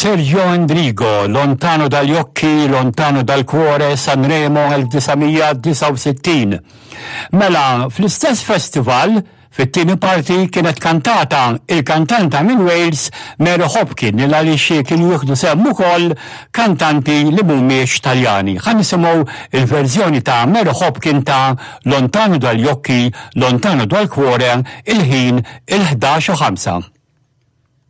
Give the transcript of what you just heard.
Sergio Endrigo, Lontano dagli occhi, lontano dal cuore, Sanremo 1969. Mela, fl-istess festival, fit-tieni parti kienet kantata il-kantanta minn Wales Mary Hopkin li għaliex kienu jieħdu sehem ukoll kantanti li mhumiex Taljani. Ħa nisimgħu il-verżjoni ta' Mary Hopkin ta' Lontano dagli occhi, lontano dal cuore, il-ħin il-11 u 5.